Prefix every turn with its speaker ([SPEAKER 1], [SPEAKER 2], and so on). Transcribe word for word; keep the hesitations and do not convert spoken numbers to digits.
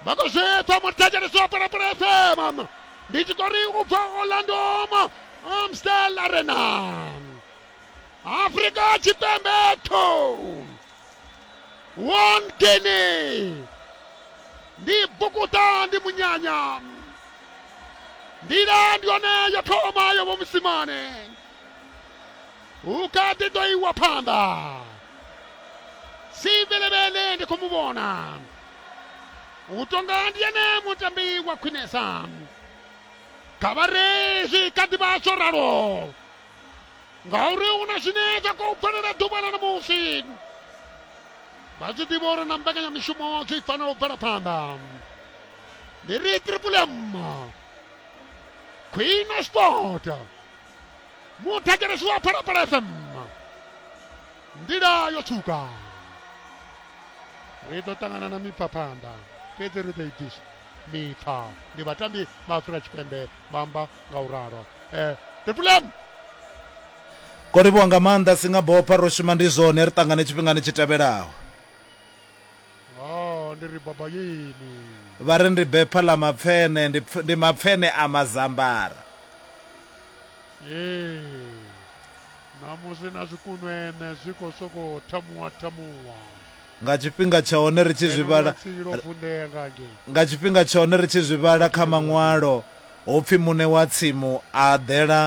[SPEAKER 1] Vha khou zwi pfa muthetshelesi wa Phalaphala F M, ndi tshi tori u bva Orlando Amstel Arena, Afrika Tshipembe two, one Guinea. Ndi bukuta, ndi munyanya, nḓila ndi yone yo thoma yo vho musimane u kha ḓi ḓo iwa phanḓa. Sibelebele ndi khou mu vhona u tonga ndi ene mutambi wa khwinesa, kha vha ri zwi kha ḓi vha zwo ralo ngauri hu na zwine zwa khou bvelela ḓuvha ḽa ṋamusi. Vha zwi ḓivha uri na mbekanyamishumo zwi fanela u bvela phanḓa. Ndi ri Triple M, Queen of Sport, muthetshelesi wa Phalaphala F M, nḓila yo tswuka. Ri ḓo ṱangana na mipfa phanḓa, fhedzi ri ḓo i bvisa mipfa. Ndi vhatambi vha Afrika Tshipembe vha amba nga u ralo. eh, Triple M.
[SPEAKER 2] Ko livhuwa nga maanḓa Singabopha, ro shuma ndi zwone, ri ṱangane tshifhingani tshi tevhelaho.
[SPEAKER 1] Oh, ndi ri baba yini.
[SPEAKER 2] Vha ri ndi bepha ḽa mapfene, ndi pf- ndi mapfene a mazambara.
[SPEAKER 1] Ee, ṋamusi na zwikunwene zwi khou sokou thamuwa thamuwa.
[SPEAKER 2] Nga tshifhinga tsha hone ri tshi zwi
[SPEAKER 1] Ngeno
[SPEAKER 2] vhala
[SPEAKER 1] lwa lwo vunḓea nga ngei.
[SPEAKER 2] Nga tshifhinga tsha hone ri tshi zwi vhala kha maṅwalo, hu pfi muṋe wa tsimu a ḓela